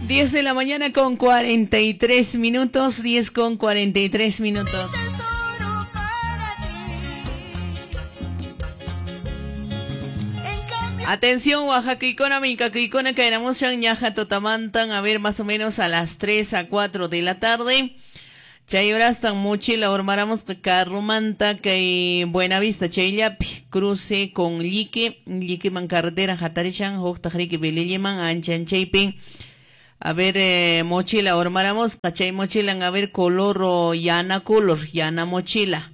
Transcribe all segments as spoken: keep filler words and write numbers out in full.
diez de la mañana con cuarenta y tres minutos, diez con cuarenta y tres minutos. Atención, Oaxaca, Micacuicona, Caeramushan, Ñaja, Totamantan, a ver, más o menos a las tres a cuatro de la tarde. Chayorastan, mochila, ormaramos, carromanta, que Buenavista, Chayllapi, cruce con Lique, Lique man carretera, Jatarishan, Joctajrique, Beliliman, Anchan, Chaypin. A ver, eh, mochila, ormaramos, chay mochila, a ver, color o yana color, yana mochila.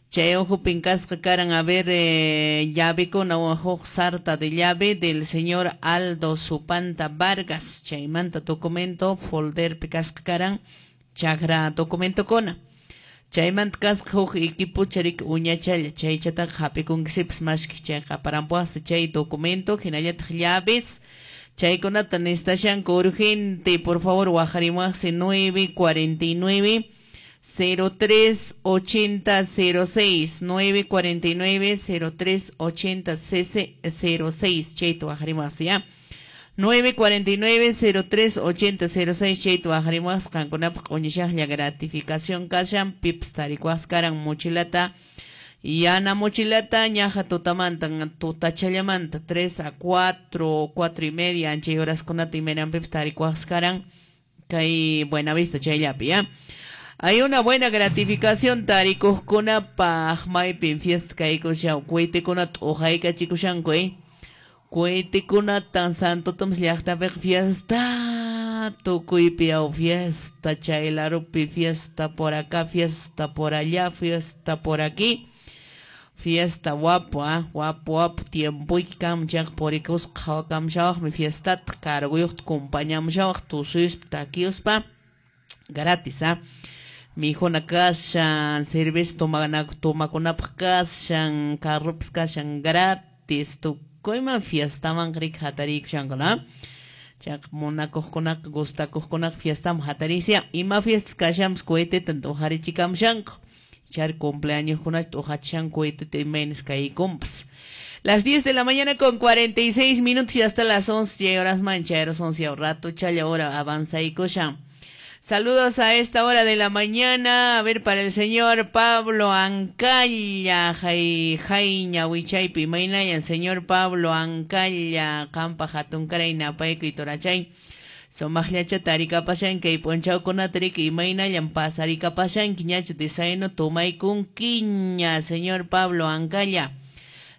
Chay ojo pincasca caran, a ver, eh, llave con ojo sarta de llave del señor Aldo Supanta Vargas. Chaymanta documento, folder picasca caran, chagra documento cona. Chaymanta casca huk equipo charik uñachalla, chay chata japicunquisips mashki chay qaparampuas, chay documento, hinallataq llaves. Chaykunata nestashanku urgente, por favor, wajarimuaqsi nueve cuarenta y nueve cero tres ochenta cero seis, nueve cuarenta y nueve cero tres ochenta cero seis, chayta wajarimuaqsi ya. nueve cuarenta y nueve cero tres ochenta cero seis, chayta wajarimuaqsi qankunapaq uñishaqlla gratificación kashan, pips tarikuaqsi karan mochilata. Yana mochilata, ñaja tutamanta, tutachallamanta, tres a cuatro, cuatro y media, ancha y horas con y menan pips tarikuaqsi kay Buenavista chayllapi, ya. Hay una buena gratificación tarikuqkunapaq maypin fiesta kaykushan, cohetekunata uqaykachikushanku, eh. Cohetekunatan Santo Tomás llaqtapiqa fiesta, tukuypi aw fiesta, chaylarupi fiesta, por acá fiesta, por allá fiesta, por aquí. Fiesta guapo, ah, guapo, guapo, tiempo y kamchaq porikus qhawakamshawaqmi fiestata carguyuqta compañamshawaq tusuyuspa takiyuspa gratis, ah. Mijuna kashan, cerveza tomakunapaq kashan, carropas kashan gratis, tukuyman fiestaman rik hatarikushanku, ¿no? Chaq munakuqkunaqa gustakuqkunaqa fiestaman hatarisia, ima fiestas kashanpas coheteta uqharichikamshanku. Char cumpleaños Las diez de la mañana con cuarenta y seis minutos y hasta las once horas manchaeros, once rato, chaya hora avanza y cosa. Saludos a esta hora de la mañana, a ver, para el señor Pablo Ancalla, jai, jaiña, huichaypi, mainayan, señor Pablo Ancalla, campa jatuncaray, napayco y torachay. Somaqllacha tarikapashanki kay p'unchawkunata riki imaynallan pasarikapashanki ñachu desayuno tomaykunkiña, señor Pablo Ancalla.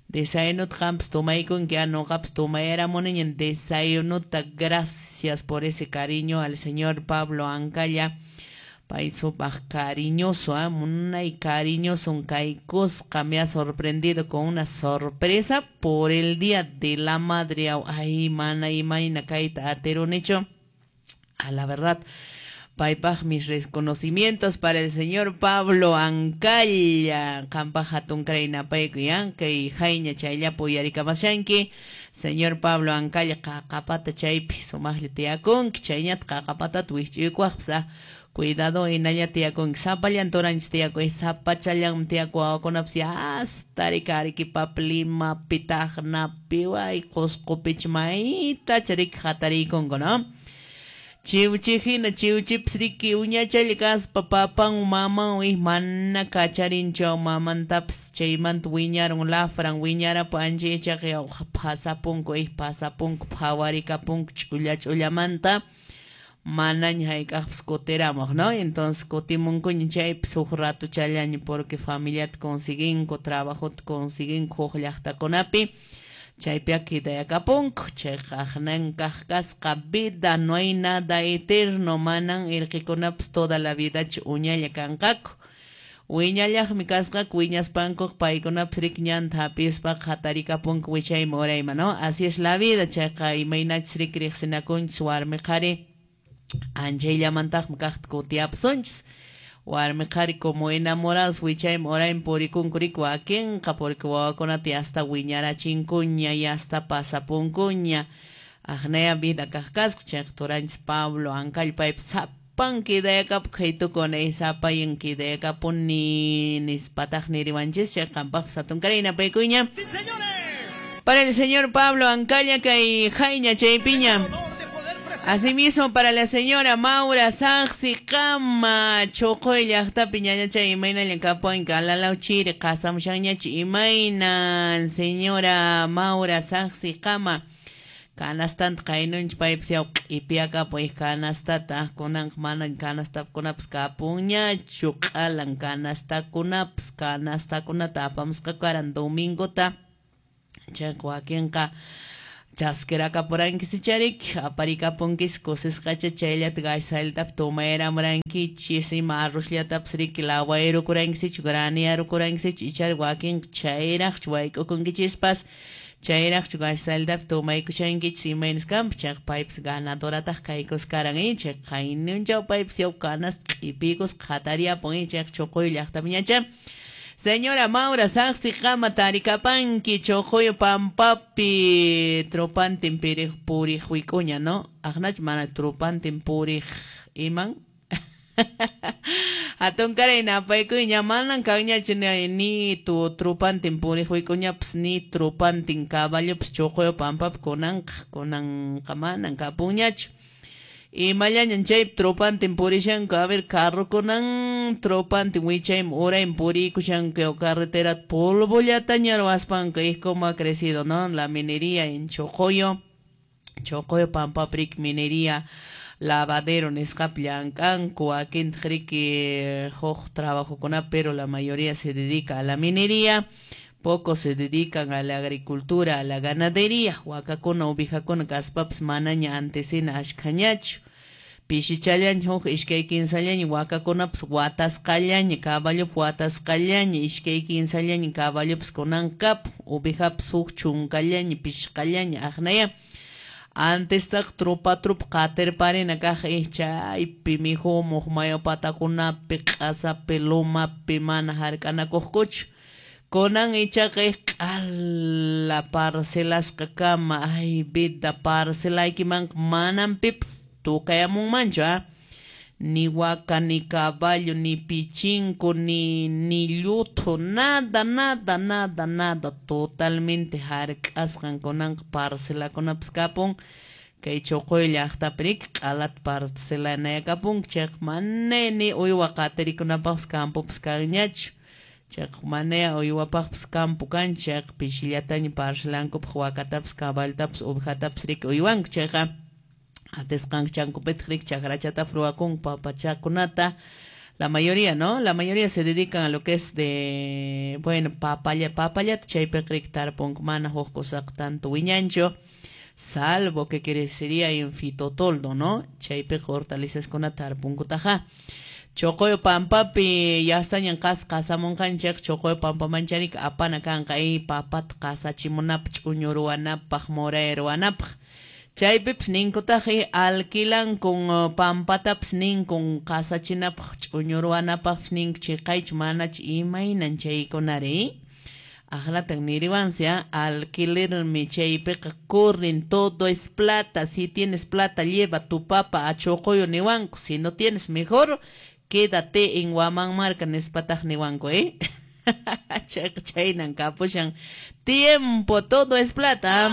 Desayunuta qampas tomaykunki, ñuqapas tomayaramuniña desayunuta. Gracias por ese cariño al señor Pablo Ancalla. Pay supaq cariñoso, ¿eh? Munay cariñoso kaykusqa, me ha sorprendido con una sorpresa por el Día de la Madre. Ay, mana imayna kayta aterunichu. A la verdad, paypaq mis reconocimientos para el señor Pablo Ancalla. Qanpaq hatunkaray napaykuy, kay hayña chayllapi uyarikamashanki. Señor Pablo Ancalla, qaqapata chaypi sumaqlla tiyakunki, chayñata qaqapatata wisch'uykuwaqpas. Cuidado, hinalla tiyakunki, sapallan turanchis tiyakuy, sapachallanmi tiyaku wawakunapas hasta riki Arequipapi, Limapi, Tacnapi, way Qusqupich maytacha riki hatariykunku, ¿no? Chiwchi hina, chiwchipas riki uñachalla kaspa papan maman mana kacharinchu mamantapas chaymanta wiñarun lafran wiñarapu ancha yachaqa pasapunku, pasapunku phawarikapunku ch'ulla ch'ullamanta manaña hayk'aqpas kutiramuq, ¿no? Entonces kutimunkuña chaypas huk ratuchallaña porque familiata consiguinku, trabajota consiguinku huk llaqtakunapi. Chaypi quedayakapunku, chayqa aqnan kaq kasqa vida, no hay nada eterno, manan irqikunapas toda la vidachu uñalla kanqaku. Wiñallaqmi kasqaku, wiñaspankuq paykunapas riki ñanta hapispa hatarikapunku wichayman urayman, ¿no? Así es la vida, chayqa imaynachus riki riqsinakunchis warmi qhari, anchayllamantaqmi kaqta kutiyapasunchis. Warmi qhari como enamorados wichayman urayman purikunku riki wakinqa, porque wawakunata hasta wiñarachinkuña y hasta pasapunkuña. Aqnaya vida kaq kasqa, chayqa turanchis Pablo Ancalla paypas sapan quedayakapu qhaytukuna, sapayan quedayakapuni nispataq niriwanchis, chayqa qampaqpas hatunkaray napaykuña. Para el señor Pablo Ancalla kay hayña chaypiña. Asimismo, para la señora Maura Saxicama, Chocoy llaqtapi ñañacha imayna kapuan kalalaw chiri qasamushanñachu imaynan señora Maura Saxicama canastanta qaynunch paypis yaw q'ipiakapuy canastata kunanqa mana canastakunapas kapunñachu q'alan canastakunapas canastakunata apamusqa karan domingota chayqa wakinqa chasquirakapurankichis charik aparikapunkis kusisqacha chayllata gaysalltapi tumayramurankichis ima arrozllatapas riki lawayrukurankichis graniyarukurankichis ichari wakinqa chayraqchu wayk'ukunkichispas chayraqchu gaysalltapi tumaykushankichis imaynas kanpas chayqa paypas ganadorataq kaykuskaran chayqa qaynunchaw paypas yaw canasta q'ipiykusqa hatariyapun chayqa Chocoyo llaqtapiñacha. Señora Maura Saxicama tarikapanki Chocoyo pampapi tropantin piriq puriq wik'uña, ¿no? Aqnachu mana tropantin puriq iman? Hatunkaray napaykuyña manan kanñachu ni tu tropantin puriq wik'uñapas ni tropantin caballopas Chocoyo pampapi kunanqa kunanqa manan kapunñachu. Imallañan chay tropantin purishanku, a ver, carrokunan tropantin wichayman urayman purikushanku carretera polvollataña ruwaspanku, es como ha crecido, ¿no? La minería en Chocoyo, Chocoyo pampapi minería, lavadero nisqapi llank'anku, wakintaq riki huk trabajokunapi, pero la mayoría se dedica a la minería. Pocos se dedican a la agricultura, a la ganadería. Wakakuna, ovejakuna kaspapas manaña antesina ashkhañachu. Pishichallaña huk iskay kinsallaña wakakunapas watasqallaña, caballopas watasqallaña, iskay kinsallaña caballopas kunan kapun, ovejapas huk chunkallaña, pishqallaña aqnaya. Antestaq tropa tropa qatirparina kaq chaypi mikhumuq mayu patakunapi, q'asapi, lumapi mana hark'anakuqkuchu. Kunan ichaqa q'ala parcelasqa kama, ay vida parcelaykimanqa manan pipas tukayamunmanchu, ah? Ni waka, ni caballo, ni pichinku, ni, ni lluthu, nada, nada, nada, nada, totalmente hark'asqan kunanqa parcelakunapas kapun. Kay Chocoyo llaqtapi q'alat parcelanayakapun, chayqa mana ni uywa qatirikunapaqpas campopas kanñachu. Chayqa manaya uywapaqpas campo kan, chayqa pishillataña parcelankupaq wakatapas, cabaltapas, ovejatapas riki uywanku, chayqa atisqanku chankupitaq riki chakrachatapas ruwakunku papachakunata. La mayoría, ¿no? La mayoría se dedican a lo que es de, bueno, papaya, papayata, chaypiqa riki tarpunku mana huk kusaqa tanto wiñanchu, salvo que crecería en fitotoldo, ¿no? Chaypiqa hortalizaskunata tarpunkutaqa. Chocoyo pampapi yastañan qas qasamunqanchik Chocoyo pampamancharik apana kanqa y papata qasachimunapaq ch'uñu ruwanapaq moray ruwanapaq chaypipas ninkutaq alquilankun pampatapas ninkun qasachinapaq ch'uñu ruwanapaqpas ninku chiqaychu manachu imaynan chaykunari aqlatan niriwansi alquilermi chaypiqa corren todo es plata, si tienes plata lleva tu papa a Chocoyo niwanku, si no tienes mejor quédate en Huamanmarca nispataq niwanku, ¿eh? Chaynan kapushan tiempo, todo es plata.